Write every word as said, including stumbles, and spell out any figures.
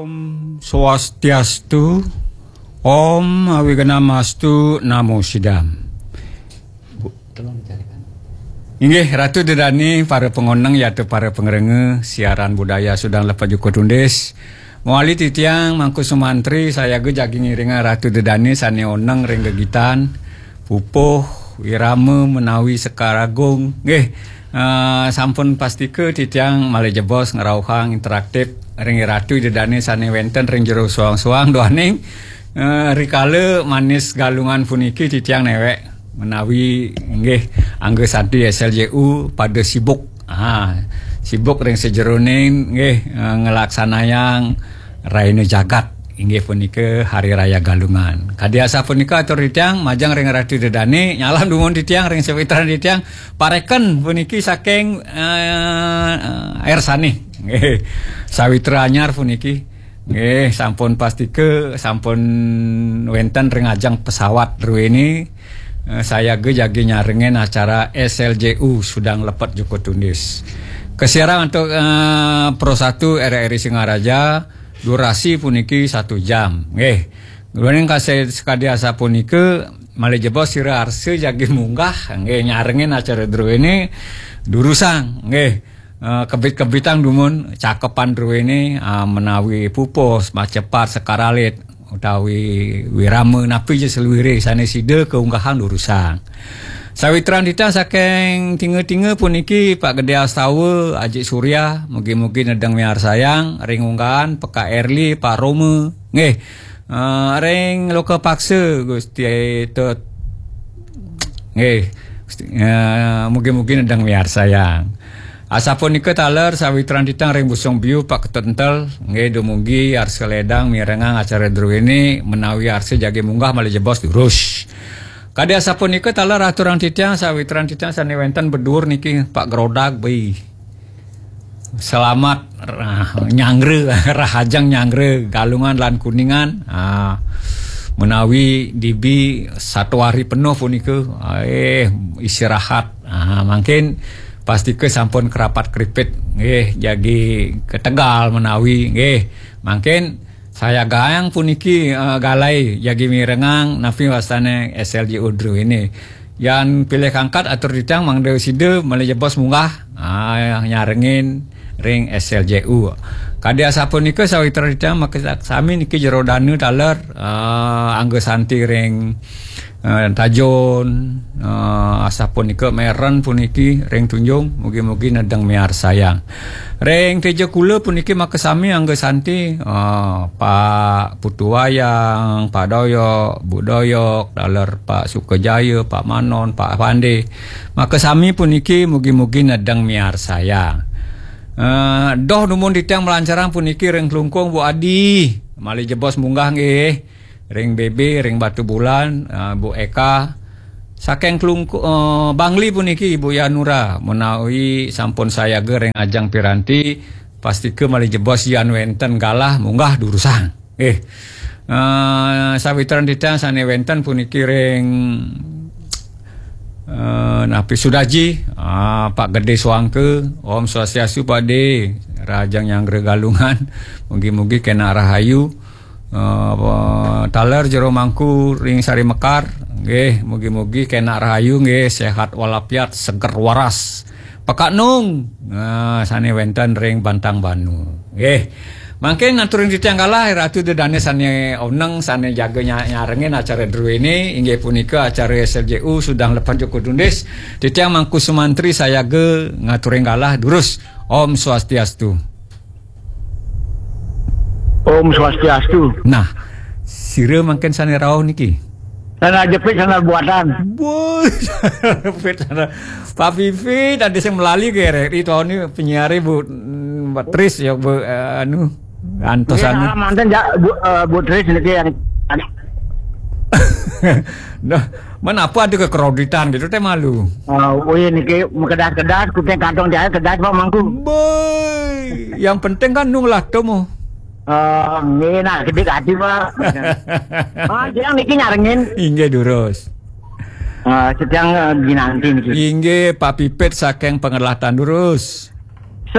Om Swastiastu, Om Awignamastu Namo Sidam. Bu, tolong dicarikan. Inggih, Ratu Dedani, para pangoneng yata para pangrengga siaran budaya Sudang Lepet Jukut Undis. Mawali titiang Mangku Sumantri sayaga jagi ngiringang Ratu Dedani sane oneng ring gegitan, pupuh, wirama menawi sekar agung. Nggih, eh, sampun pastika titiang malih jebos ngrauhang interaktif ring Ratu Dedani sane wenten ring jero suang-suang duaning, eh, rikala manis Galungan puniki titiang newek menawi inggih angga santi S L J U pada sibuk. Ha, sibuk ring sajeroning nggih, eh, nglaksanayang Raina Jagat inggih punika Hari Raya Galungan. Kadi asapunika atur titiang majeng ring Ratu Dedani, nyalam dumun titiang ring sawitran titiang pareken puniki saking, eh, Air Sane. Nggih. Sawitra anyar puniki. Nggih, sampun pastika, sampun wenten ring ajeng pesawat druene, eh, sayaga jagi nyarengin acara S L J U Sudang Lepet Jukut Undis. Kasiaran antuk, eh, Pro satu R R I Singaraja, durasi puniki satu jam. Nggih. Duaning kase-, sakadi asapunika, malih jebos sira arsa jagi munggah, nggih, nyarengin acara druene durusang, nggih. Eh, kebit-kebitang dumun cakepan druene, ah, menawi pupus, macepat, sekar alit, utawi wirama napi ja saluire sane sida kaunggahang durusang. Sawitran titiang saking Tinga-Tinga puniki Pak Gede Astawa, Ajik Surya, mugi-mugi nedeng miarsayang, ring unggahan Peka Erli, Pak Roma. Nggih. Eh, ring Loka Paksa, Gusti Tut. Nggih. Gusti, eh, mugi-mugi nedeng miarsayang. Asapunika taler sawitran titiang ring Busung Biu, Pak Ketut Entel. Nggih, dumugi arsa ledang mirengang acara druene menawi arsa jagi munggah malih jebos durus. Kadi asapunika taler aturang titiang sawitran titiang sane wenten bedur niki, Pak Gerodag, beli. Selamat, ah, nyanggra, rahajeng nyanggra Galungan lan Kuningan. Ah, menawi dibi satu hari penuh punika, ah, eh, istirahat. Ah, mangkin pastika sampun kerapat keripit, nggih, jagi ketegal menawi, nggih. Mangkin sayagayang puniki, eh, galai jagi mirengang napi wastane S L J U druene. Yan pilih kangkat atur titiang mangda sida malih jebos munggah, ah, nyarengin ring S L J U. Kadi asapunika sawitra titiang makasami niki jero dana taler, ah, angga santi ring, eh, Tajun, eh, asapunika Meren puniki ring Tunjung, mugi-mugi nedeng miarsayang. Ring Tejakula puniki makasami angga santi, ah, Pak Putu Wayang, Pak Doyok, Bu Doyok, taler Pak Sukajaya, Pak Manon, Pak Pande. Makasami puniki mugi-mugi nedeng miarsayang. Eh, doh dumun titiang malancarang puniki ring Klungkung, Bu Adi. Malih jebos munggah nggih. Ring B B, ring Batubulan, eh, Bu Eka. Saking Klungku-, eh, Bangli puniki Ibu Yanura, menawi sampun sayaga ring ajeng piranti, pastika malih jebos yan wenten galah munggah durusang. Eh, eh, sawitran titiang sane wenten puniki ring, eh, napi Sudaji, ah, Pak Gede Suangke, Om Swastiastu Pak De, rahajeng nyanggra Galungan, mugi-mugi kenak rahayu. Eh, taler jero mangku ring Sari Mekar, nggih, mugi-mugi kenak rahayu, nggih, sehat walafiat, seger waras. Pekak Nung, nah, sane wenten ring Bantang Banu, nggih. Mangkin ngaturin titiang galah, Ratu Dedane sane oneng, sane jaga nya-, nyarengin acara druene, inggih punika acara S L J U Sudang Lepet Jukut Undis. Titiang Mangku Sumantri sayaga ngaturin galah, durus. Om Swastiastu. Om Swastiastu. Nah, sira mangkin sane rauh niki. Sana jepit, sana buatan. Boy, jepit sana. Pak Pipi tadi sing melali ke R R I tahun ini penyiar Bu, mm, Mbak Tris ya, Bu, eh, anu, antos. Nggih, anu. Salam manten, ja-, Bu, eh, Bu Tris niki yang Nah, men apa ada kekreditan gitu teh malu. Oh, oh iya niki, kedas-kedas, kuting kantong jahit kedas, Pak Mangku. Boy, yang penting kan nung lah temu. Oh, nggih, nah, gede hati, Pak. Oh, yang niki nyarengin. Inggih, durus. Eh, sedang, eh, dinanti niki. Inggih, Pak Pipit saking Pengelatan, durus.